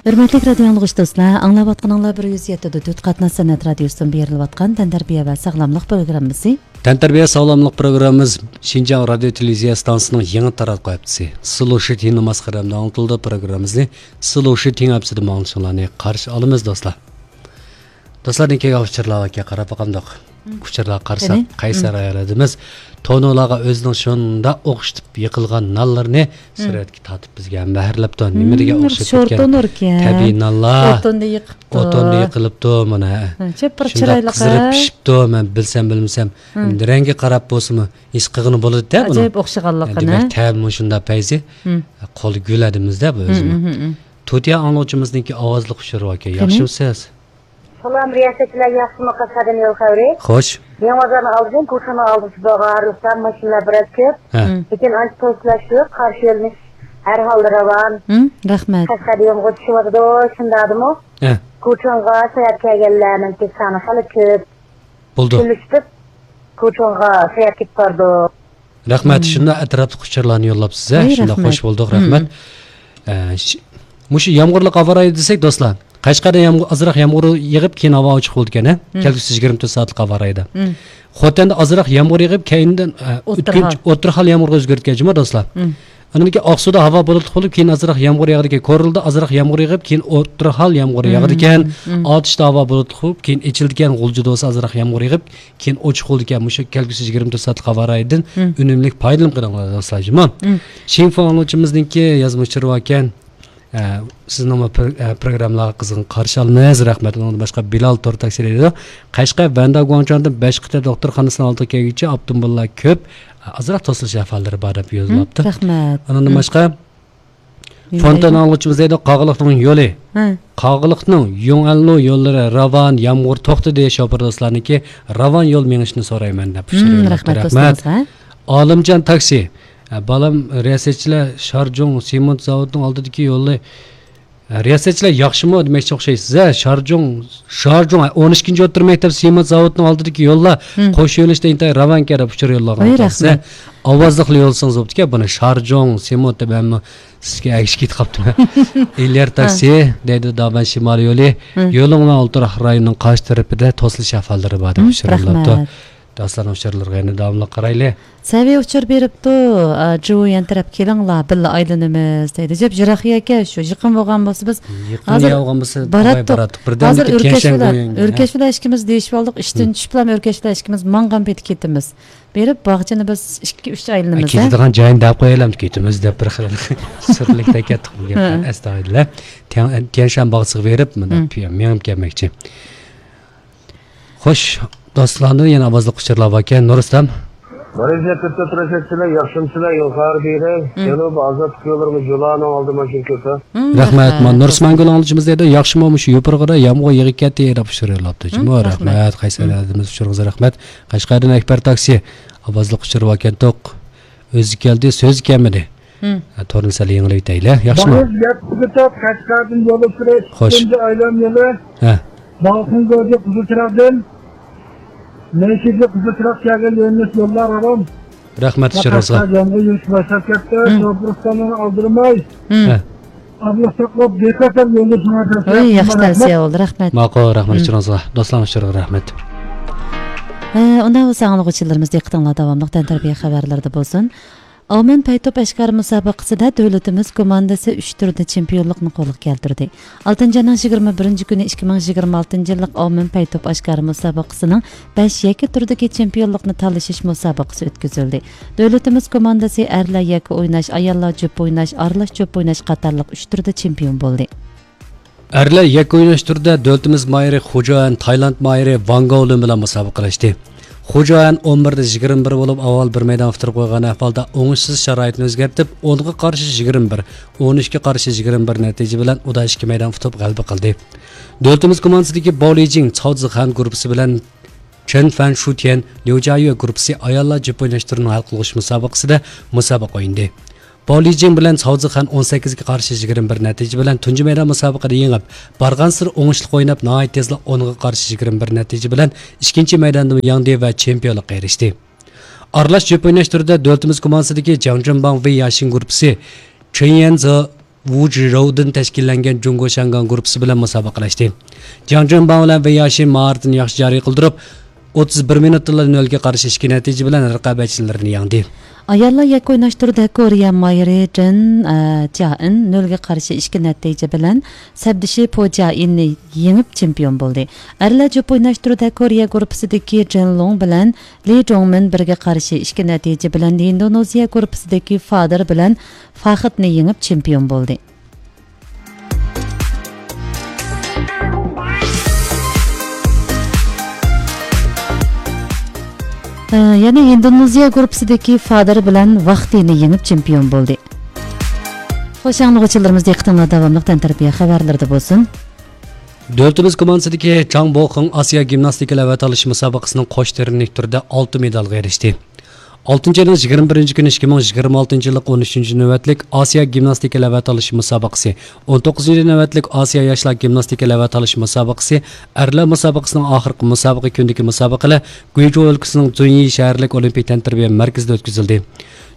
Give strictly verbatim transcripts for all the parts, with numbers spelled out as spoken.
ھۆرمەتلىك رادىيو ئاڭلىغۇچى دوستلار، ئاڭلاۋاتقىنىڭلار بىر يۈز يەتتە پۈتۈن ئۈچ قاتناش سەنئەت رادىيوسىدىن بېرىلىۋاتقان تەنتەربىيە ۋە ساغلاملىق پروگراممىسى. تەنتەربىيە ساغلاملىق پروگراممىمىز شىنجاڭ رادىيو تېلېۋىزىيە ئىستانسىسىنىڭ يېڭى تاراتقۇ ھەپتىسى، سلوشىتىن ماسخىرەمدە ئاڭلىتىلىدۇ پروگراممىمىزنى. سلوشىتىن ھەپتىسىدە ماڭلىشىڭلارنى قارشى ئالىمىز، دوستلار. دوستلار، نېكى ئۇچۇرلار باركەن، قاراپ باقامدۇق. ئۇچۇرلارغا قارىساق، قېنى؟ قەيسەر ئايالىمىز تونۇرلارغا ئۆزىنىڭ شۇنداق ئوخشىتىپ يېقىلغان نانلىرىنى سۈرەتكە تارتىپ بىزگە ھەممەھەرلەپتۇ. نېمە دېگەن ئوخشىتىپ كەتكەن؟ تونۇركەن. تەبىئىي نانلار. ئوتۇندا يېقىپتۇ. ئوتۇندا يېقىلىپتۇ، مانا. ھە، چېپىر شۇنداق چىرايلىق، قىزىرىپ ھە؟ پىشىپتۇ، مەن بىلسەم بىلمىسەم. رەڭگى قاراپ بولسىمۇ ھېس قىلغىلى بولىدۇ-دە بۇنى. ئاجايىپ ئوخشىغانلىقىنى. دېمەك، تەمىمۇ شۇنداق پەيزى. قول گۈل ئادىمىز-دە بۇ ئۆزىمۇ. تۇتىيا ئاڭلىغۇچىمىزنىڭكى ئاۋازلىق ئۇچۇرى باركەن. قېنى؟ ياخشىمۇسىز؟ سالام، رىياسەتچىلەر ياخشىمۇ؟ قەشقەردىن يول خەۋىرى. خوش. يېڭى بازارنىڭ ئالدىدىن كوچىنىڭ ئالدىسى بولغان رۇخسار ماشىنىلار بىراز كۆپ. ھە. لېكىن ئانچە توسۇلۇش يوق، قارشى يۆنىلىش ھەر ھالدا راۋان. ھىم، رەھمەت. قەشقەردە يامغۇر چۈشۈۋاتىدۇ، شۇنداقدىمۇ؟ ھە. كوچىنغا ساياھەت كەلگەنلەرنىڭكى سانى خېلى كۆپ. بولدى. كۈنلىشىپ كوچىنغا ساياھەت كېتىپ بارىدۇ. رەھمەت، ھىم. شۇنداق ئەتراپلىق ئۇچۇرلارنى يوللاپسىز، ھە؟ ۋاي، شۇنداق رەھمەت. خوش بولدۇق، ھىم. رەھمەت. ئە، ش-، مۇشۇ يامغۇرلۇق ھاۋا رايى دېسەك، دوستلار، قەشقەردە يامغۇر، ئازراق يامغۇر يېغىپ، كېيىن ھاۋا ئوچۇق بولىدىكەن، ھە؟ ھىم. كەلگۈسى يىگىرمە تۆت سائەتلىك ھاۋا رايىدا. ھىم. خوتەندە ئازراق يامغۇر يېغىپ، كەينىدىن، ئە، ئوتتۇرا ئۆتكۈنچ-، ھال. ئوتتۇرا ھال يامغۇرغا ئۆزگىرىدىكەن جۇمۇ، دوستلار. ھىم. ئاندىن كېيىن ئاقسۇدا ھاۋا بۇلۇتلۇق بولۇپ، كېيىن ئازراق يامغۇر ياغىدىكەن. كورلىدا ئازراق يامغۇر يېغىپ، كېيىن ئوتتۇرا ھال يامغۇر ھىم، ياغىدىكەن. ھىم. ئاتۇشتا ھاۋا بۇلۇتلۇق بولۇپ، كېيىن ئېچىلىدىكەن. غۇلجىدا بولسا ئازراق يامغۇر يېغىپ، كېيىن ئوچۇق بولىدىكەن. مۇشۇ كەلگۈسى يىگىرمە تۆت سائەتلىك ھاۋا رايىدىن ھىم. ئۈنۈملۈك پايدىلىنىپ قېلىڭلار، دوستلار، جۇمۇ. ھىم. شىنفۇ ئاڭلىغۇچىمىزنىڭكى يازما ئۇچۇرى باركەن. ئە، سىزنىڭمۇ پرو-، ئە، پروگراممىلارغا قىزغىن قارشى ئالىمىز. رەھمەت. ئۇنىڭدىن باشقا بىلال تور تاكسى دەيدۇ. قەشقەر ۋەندە گۇاڭجۇاندىن بەش قېتىم دوختۇرخانىسىنىڭ ئالدىغا كەلگۈچە ئاپتوموبىللار كۆپ، ئازراق توسۇلۇش ئەھۋاللىرى بار دەپ يوللاپتۇ. ھىم، رەھمەت. ئۇنىڭدىن ھىم. باشقا فونتان ئاڭلىغۇچىمىز دەيدۇ، قاغىلىقنىڭ يولى. ھە. قاغىلىقنىڭ يۇڭئەنلۇ يوللىرى راۋان، يامغۇر توختىدى، شوپۇر دوستلارنىڭكى راۋان يول مېڭىشىنى سورايمەن دەپ ئۇچۇر ھىم، يوللاپتۇ. رەھمەت رەھمەت. دوستىمىزغا. ئالىمجان تاكسى. ئە، بالام، رىياسەتچىلەر شارجۇڭ سېمونت زاۋۇتىنىڭ ئالدىدىكى يولنى، ئە، رىياسەتچىلەر ياخشىمۇ دېمەكچى ئوخشايسىز، ھە؟ شارجۇڭ، شارجۇڭ، ئون ئىككىنچى ئوتتۇرا مەكتەپ سېمونت زاۋۇتىنىڭ ئالدىدىكى يوللار ھىم. قوش يۆنىلىشتە ئىنتايىن راۋانكەن دەپ ئۇچۇر يوللىغان. ۋاي، تاكسى. رەھمەت. ئاۋازلىقلا يوللىسىڭىز بوپتىكەن بۇنى. شارجۇڭ سېمونت دەپ ھەممە سىزگە ئەگىشىپ كېتىپ قاپتىمەن. ئېليار ھە. تاكسى دەيدۇ، دابەن شىمالىي يولى. ھە. يولۇڭ ۋە ئولتۇراق رايونىنىڭ قارشى تەرىپىدە توسۇلۇش ئەھۋاللىرى بار دەپ ھىم، ئۇچۇر يوللاپتۇ. رەھمەت. دوستلارنىڭ ئۇچۇرلىرىغا يەنە داۋاملىق قارايلى. سەۋىيە ئۇچۇر بېرىپتۇ، ئا، جۇيۈەن تەرەپ كېلىڭلار، بىللە ئايلىنىمىز دەيدۇ. جەپ يىراق يەكەن شۇ، يېقىن بولغان بولسا بىز يېقىن ھازىر ياۋغان بولسا باراتتۇق. ئاۋاي باراتتۇق. بىردەمدىكى ھازىر ئۆركەش تيەنشەن بىلەن، گويۈەنگە. ئۆركەش بىلەن ئىككىمىز دېيىشىۋالدۇق، ئىشتىن ھىم. چۈشۈپلا ئۆركەش بىلەن ئىككىمىز ماڭغان پېتى كېتىمىز. بېرىپ باغچىنى بىز ئىككى، ئۈچ ئايلىنىمىز، ھە؟ كېتىدىغان جايىنى دەپ قويايلى، كېتىمىز دەپ بىر خىل سۈرلۈكتە كەتتۇق بۇ گەپ. ھە. ئەستاغپىرۇللا. تيەن-، تيەنشان باغچىسىغا بېرىپ، مۇنداق ھىم. پىيا-، مېڭىپ كەلمەكچى. خوش، دوستلاردىن يەنە ئاۋازلىق ئۇچۇرلار باركەن. نۇرۇسلام. مالايزىيە تۆت تۆت رەشەتچىلەر، ياخشىمۇسىلەر؟ يول خەۋىرى بېرىڭ. ھىم. جەنۇبىي ئازادلىق يوللىرىمۇ جۇلانىڭ ئالدى ماشىنا كۆپ. ھىم، رەھمەت. رەھمەت. مانا نۇرسىمان گۈل ئاڭلىغۇچىمىز دەيدۇ، ياخشىمۇ مۇشۇ يوپۇرغىدا يامغۇر يېغىپ كەتتى دەپ ئۇچۇر يوللاپتۇ. ھىم، جۇمۇ، رەھمەت. رەھمەت. قەيسەر ھىم. ئەزىمىز ئۇچۇرىڭىزغا رەھمەت. قەشقەردىن ئەكبەر تاكسى. ئاۋازلىق ئۇچۇر باركەنتۇق. ئۆزى كەلدى، سۆزى كەلمىدى. ھىم. ھە، تورنى سەل يېڭىلىۋېتەيلى. ياخشىمۇ؟ بىز يەتتە تۆت قەشقەردىن يول ئۇچۇرى خوش. ئىككىنچى ئايلان يولى. ھە. بالخۇن گۆجى قىزىل چىراغدىن مەيكىگە قىزىل چىراغ كەلگەن يۆنىلىش يوللار راۋان. رەھمەت ئۇچۇرىڭىزغا. يامغۇر يېغىشكە باشلاپ كەتتى. ھىم. شوپۇر ئۇستامنى ئالدىرماي. ھىم. ھە. ئابلىق ساقلاپ، دىققەت قىلىپ يولدا شۇڭا تەۋسىيە قىلىمەن. ياخشى تەۋسىيە بولدى، رەھمەت. ماقۇل، رەھمەت ئۇچۇرىڭىزغا. دوستلارنىڭ ئۇچۇرىغا رەھمەت. ھە، ئۇنداق بولسا ئاڭلىغۇچىلىرىمىز دىققىتىڭلار داۋاملىق تەنتەربىيە خەۋەرلىرىدە بولسۇن. ئاۋمېن پەيتوپ ئەشكارا مۇسابىقىسىدە دۆلىتىمىز كوماندىسى ئۈچ تۈردە چېمپىيونلۇقنى قولغا كەلتۈردى. ئالتىنچى ئاينىڭ يىگىرمە بىرىنچى كۈنى ئىككى مىڭ يىگىرمە ئالتىنچى يىللىق ئاۋمېن پەيتوپ ئەشكارا مۇسابىقىسىنىڭ بەش يەككە تۈردىكى چېمپىيونلۇقنى تالىشىش مۇسابىقىسى ئۆتكۈزۈلدى. دۆلىتىمىز كوماندىسى ئەرلەر يەككە ئويناش، ئاياللار جۈپ ئويناش، ئارىلاش جۈپ ئويناش قاتارلىق ئۈچ تۈردە چېمپىيون بولدى. ئەرلەر يەككە ئويناش تۈرىدە دۆلىتىمىز ماھىرى خۇجوئەن تايلاند ماھىرى ۋاڭ گاۋلىن بىلەن مۇسابىقىلەشتى. خۇجوئەن ئون بىردە يىگىرمە بىر بولۇپ، ئاۋۋال بىر مەيدان ئۇتتۇرۇپ قويغان ئەھۋالدا ئوڭۇشسىز شارائىتنى ئۆزگەرتىپ، ئونغا قارشى يىگىرمە بىر، ئون ئۈچكە قارشى يىگىرمە بىر نەتىجە بىلەن ئۇدا ئىككى مەيدان ئۇتۇپ غەلىبە قىلدى. دۆلىتىمىز كوماندىسىدىكى باۋ لىجىڭ، چاۋ زىخەن گۇرۇپپىسى بىلەن چېن فەن شۇتيەن، ليۇ جيايۈ گۇرۇپپىسى ئاياللار جۈپ ئويناش تۈرىنىڭ ھەل قىلغۇچ مۇسابىقىسىدە مۇسابىقە ئوينىدى. باۋ لىجىڭ بىلەن ساۋزىخەن ئون سەككىزگە قارشى يىگىرمە بىر نەتىجە بىلەن تۇنجى مەيدان مۇسابىقىدە يېڭىپ، بارغانسېرى ئوڭۇشلۇق ئويناپ، ناھايىتى تېزلا ئونغا قارشى يىگىرمە بىر نەتىجە بىلەن ئىككىنچى مەيداندىمۇ ياڭدى ۋە چېمپىيونلۇققا ئېرىشتى. ئارىلاش جۈپ ئويناش تۈرىدە دۆلىتىمىز كوماندىسىدىكى جاڭجۈنباڭ ۋېي ياشىن گۇرۇپپىسى چېن يەنزې ۋۇ جىرۇدىن تەشكىللەنگەن جۇڭگو شياڭگاڭ گۇرۇپپىسى بىلەن مۇسابىقىلەشتى. جياڭ جۈەنباڭ بىلەن ۋېي ياشىن ماھارىتىنى ياخشى جارى قىلدۇرۇپ، ئوتتۇز بىر مىنۇتتىلا نۆلگە قارشى ئىككى نەتىجە بىلەن رىقابەتچىلىرىنى يەڭدى. ئاياللار يەككە ئويناش تۈرىدە كورېيە ماھىرى جېن، ئە، جيائىن نۆلگە قارشى ئىككى نەتىجە بىلەن سەپدىشى پو جيائىننى يېڭىپ چېمپىيون بولدى. ئەرلەر جۈپ ئويناش تۈرىدە كورېيە گۇرۇپپىسىدىكى جېن لوڭ بىلەن لى جوڭمىن بىرگە قارشى ئىككى نەتىجە بىلەن ئىندونېزىيە گۇرۇپپىسىدىكى فادېر بىلەن فاخىدنى يېڭىپ چېمپىيون بولدى. ئە، يەنە ئىندونېزىيە گۇرۇپپىسىدىكى فادېر بىلەن ۋاختىنى يېڭىپ چېمپىيون بولدى. خوش، ئاڭلىغۇچىلىرىمىز، دىققىتىڭلار داۋاملىق تەنتەربىيە خەۋەرلىرىدە بولسۇن. دۆلىتىمىز كوماندىسىدىكى چاڭ بوخېڭ ئاسىيا گىمناستىكا لەۋ ئاتالىش مۇسابىقىسىنىڭ قوش تۇرنىك تۈرىدە ئالتە مېدالغا ئېرىشتى. ئالتىنچى ئاينىڭ يىگىرمە بىرىنچى كۈنى ئىككى مىڭ يىگىرمە ئالتىنچى يىللىق ئون ئۈچىنچى نۆۋەتلىك ئاسىيا گىمناستىكا لەۋ ئاتالىش مۇسابىقىسى، ئون توققۇزىنچى نۆۋەتلىك ئاسىيا ياشلار گىمناستىكا لەۋ ئاتالىش مۇسابىقىسى، ئەرلەر مۇسابىقىسىنىڭ ئاخىرقى مۇسابىقە كۈنىدىكى مۇسابىقىلەر گۇيجۇ ئۆلكىسىنىڭ زۇنيى شەھەرلىك ئولىمپىك تەنتەربىيە مەركىزىدە ئۆتكۈزۈلدى.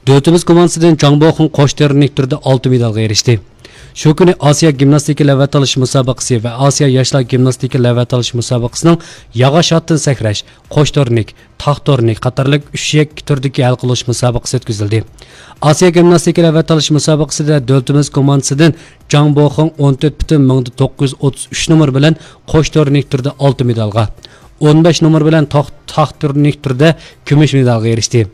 دۆلىتىمىز كوماندىسىدىن جاڭ بوخېڭ قوش تۇرنىك تۈرىدە ئالتە مېدالغا ئېرىشتى. شۇ كۈنى ئاسىيا گىمناستىكا لەۋ ئاتالىش مۇسابىقىسى ۋە ئاسىيا ياشلار گىمناستىكا لەۋ ئاتالىش مۇسابىقىسىنىڭ ياغاچ ئاتتىن سەكرەش، قوش تۇرنىك، تاق تۇرنىك قاتارلىق ئۈچ يەككە تۈردىكى ھەل قىلىش مۇسابىقىسى ئۆتكۈزۈلدى. ئاسىيا گىمناستىكا لەۋ ئاتالىش مۇسابىقىسىدە دۆلىتىمىز كوماندىسىدىن جاڭ بوخېڭ ئون تۆت پۈتۈن مىڭدا توققۇز يۈز ئوتتۇز ئۈچ نومۇر بىلەن قوش تۇرنىك تۈردە ئالتە مېدالغا، ئون بەش نومۇر بىلەن تاق، تاق تۇرنىك تۈردە كۈمۈش مېدالغا ئېرىشتى.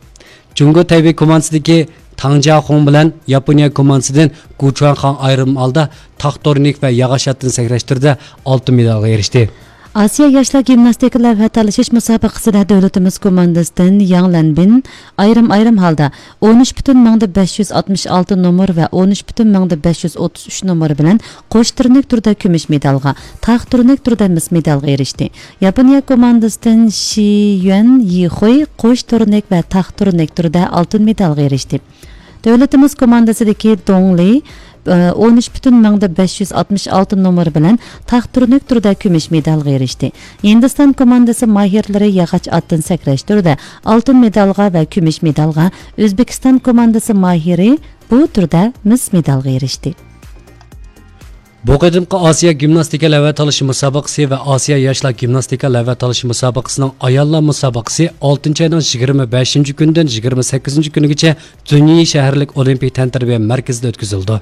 جۇڭگو تەيبېي كوماندىسىدىكى تاڭ جياخۇڭ بىلەن ياپونىيە كوماندىسىدىن گۇ چۇەنخاڭ ئايرىم ھالدا تاق تۇرنىك ۋە ياغاچ ئاتتىن سەكرەش تۈرىدە ئالتە مېدالغا ئېرىشتى. ئاسىيا ياشلار گىمناستىكا لەۋھە تالىشىش مۇسابىقىسىدە دۆلىتىمىز كوماندىسىدىن ياڭ لەنبىن ئايرىم-ئايرىم ھالدا ئون ئۈچ پۈتۈن مىڭدا بەش يۈز ئاتمىش ئالتە نومۇر ۋە ئون ئۈچ پۈتۈن مىڭدا بەش يۈز ئوتتۇز ئۈچ نومۇر بىلەن قوش تۈرنىك تۈردە كۈمۈش مېدالغا، تاق تۈرنىك تۈردە مىس مېدالغا ئېرىشتى. ياپونىيە كوماندىسىدىن شى يۈەن يىخۇي قوش تۈرنىك ۋە تاق تۈرنىك تۈردە ئالتۇن مېدالغا ئېرىشتى. دۆلىتىمىز كوماندىسىدىكى دوڭ لى، ئە، ئون ئۈچ پۈتۈن مىڭدا بەش يۈز ئاتمىش ئالتە نومۇر بىلەن تاق تۈرنىك تۈردە كۈمۈش مېدالغا ئېرىشتى. ھىندىستان كوماندىسى ماھىرلىرى ياغاچ ئاتتىن سەكرەش تۈرىدە ئالتۇن مېدالغا ۋە كۈمۈش مېدالغا، ئۆزبېكىستان كوماندىسى ماھىرى بۇ تۈردە مىس مېدالغا ئېرىشتى. بۇ قېتىمقى ئاسىيا گىمناستىكا لەۋە تالىشى مۇسابىقىسى ۋە ئاسىيا ياشلار گىمناستىكا لەۋە تالىشى مۇسابىقىسىنىڭ ئاياللار مۇسابىقىسى ئالتىنچى ئاينىڭ يىگىرمە بەشىنچى كۈنىدىن يىگىرمە سەككىزىنچى كۈنىگىچە زۈنيى شەھەرلىك ئولىمپىك تەنتەربىيە مەركىزىدە ئۆتكۈزۈلىدۇ.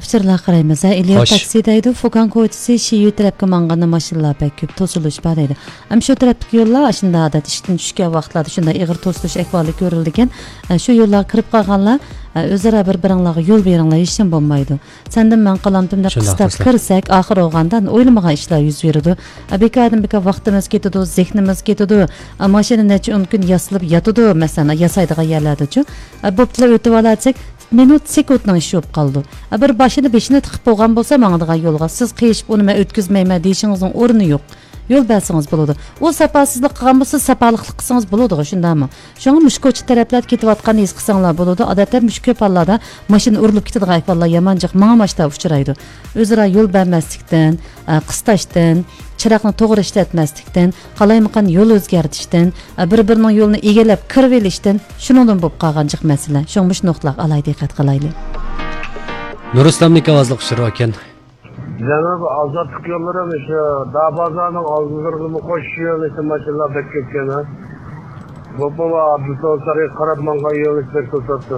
ئۇچۇرلارغا قارايمىز. ھە، ئېلىيار تاكسى دەيدۇ، فۇكاڭ كوچىسى شىيۈ تەرەپكە ماڭغاندا ماشىنىلار بەك كۆپ، توسۇلۇش بار دەيدۇ. ئەمما شۇ تەرەپتىكى يوللار ئاشۇنداق ئادەتتە ئىشتىن چۈشكەن ۋاقىتلاردا شۇنداق ئېغىر توسۇلۇش ئەھۋالى كۆرۈلىدىكەن. ئە، شۇ يوللارغا كىرىپ قالغانلار، ئە، ئۆزئارا بىر-بىرىڭلارغا يول بېرىڭلار، ھېچنېمە بولمايدۇ. سەندىن مەن قالامتىم دەپ قىستاپ كىرسەك، ئاخىر بولغاندا ئويلىمىغان ئىشلار يۈز بېرىدۇ. ئە، بىكاردىن بىكار ۋاقتىمىز كېتىدۇ، زېھنىمىز كېتىدۇ. ئە، ماشىنا نەچچە ئون كۈن ياسىلىپ ياتىدۇ، مەسىلەن، ياسايدىغان يەرلەردىچۇ. ئە، بوپتىلا ئۆتۈۋالاچەك، مىنۇت سېكۇنتنىڭ ئىشى بولۇپ قالىدۇ. ئە، بىر باشىنى بېشىنى تىقىپ بولغان بولسا ماڭىدىغان يولغا، سىز قېشىپ ئۇنى مەن ئۆتكۈزمەيمەن دېيىشىڭىزنىڭ ئورنى يوق. يول بەرسىڭىز بولىدۇ. ئۇ ساپاسىزلىق قىلغان بولسا، سىز ساپالىقلىق قىلسىڭىز بولىدىغۇ، شۇنداقمۇ؟ شۇڭا مۇشۇ كوچا تەرەپلەردە كېتىۋاتقاننى ھېس قىلساڭلار بولىدۇ. ئادەتتە مۇشۇ كۆپ ھاللاردا ماشىنا ئۇرۇلۇپ كېتىدىغان ئەھۋاللار يامان جىق ماڭا ماشتا ئۇچرايدۇ. ئۆزئارا يول بەرمەسلىكتىن، ئە، قىستاشتىن، چىراغنى توغرا ئىشلەتمەسلىكتىن، قالايمىقان يول ئۆزگەرتىشتىن، ئە، بىر-بىرىنىڭ يولىنى ئىگىلەپ كىرىۋېلىشتىن، شۇنىڭدىن بولۇپ قالغان جىق مەسىلە. شۇڭا مۇشۇ نۇقتىلارغا ئالاھىدە دىققەت قىلايلى. نۇرئىسلامنىڭ ئاۋازلىق ئۇچۇرى ئىكەن. جەنۇبىي ئازادلىق يوللىرى مۇشۇ داۋ بازارنىڭ ئالدىلىرىدىمۇ قوشۇش يۆنىلىشتە ماشىنىلار بەك كۆپكەن، ھە؟ بولۇپمۇ ئابدۇسالام سارىيىغا قاراپ ماڭغان يۆنىلىش بەك توساتتى.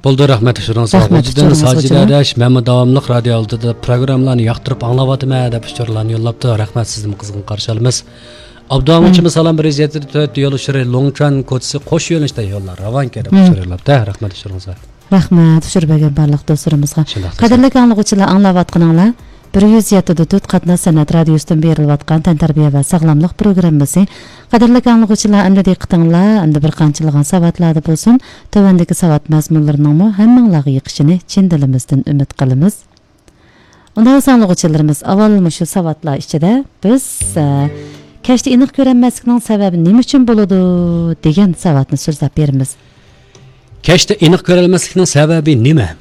بولدى، رەھمەت ئۇچۇرىڭىزغا. رەھمەت غوجىدىن ئۇچۇرىڭىزغا ساجىدە ئەدەش، مەمە داۋاملىق رادىيو ئالدىدا پروگراممىلارنى ياقتۇرۇپ ئاڭلاۋاتىمەن دەپ ئۇچۇرلارنى يوللاپتۇ. رەھمەت، سىزنىمۇ قىزغىن قارشى ئالىمىز. ئابدۇ ئاڭغىچىمىز سالام بىر يۈز يەتتە تۆت يول ئۇچۇرى لۇڭچۈەن كوچىسى قوش يۆنىلىشتە يوللار راۋانكەن دەپ ئۇچۇر يوللاپتۇ. رەھمەت ئۇچۇرىڭىزغا. رەھمەت، ئۇچۇر بەرگەن بارلىق دوستلىرىمىزغا. شۇنداق، قەدىرلىك ئاڭلىغۇچىلار، ئاڭلاۋاتقىنىڭلار بىر يۈز يەتتە تۆت قاتناش سەنئەت رادىيوسىدىن بېرىلىۋاتقان تەنتەربىيە ۋە ساغلاملىق پروگراممىسى. قەدىرلىك ئاڭلىغۇچىلار، ئەمدى دىققىتىڭلار ئەمدى بىر قانچىلىغان ساۋاتلاردا بولسۇن. تۆۋەندىكى ساۋات مەزمۇنلىرىنىڭمۇ ھەممىڭلارغا يېقىشىنى چىن دىلىمىزدىن ئۈمىد قىلىمىز. ئۇنداق بولسا ئاڭلىغۇچىلىرىمىز، ئاۋۋال مۇشۇ ساۋاتلار ئىچىدە بىز، ئە، كەچتە ئېنىق كۆرەلمەسلىكنىڭ سەۋەبى نېمە ئۈچۈن بولىدۇ دېگەن ساۋاتنى سۆزلەپ بېرىمىز. كەچتە ئېنىق كۆرەلمەسلىكنىڭ سەۋەبى نېمە؟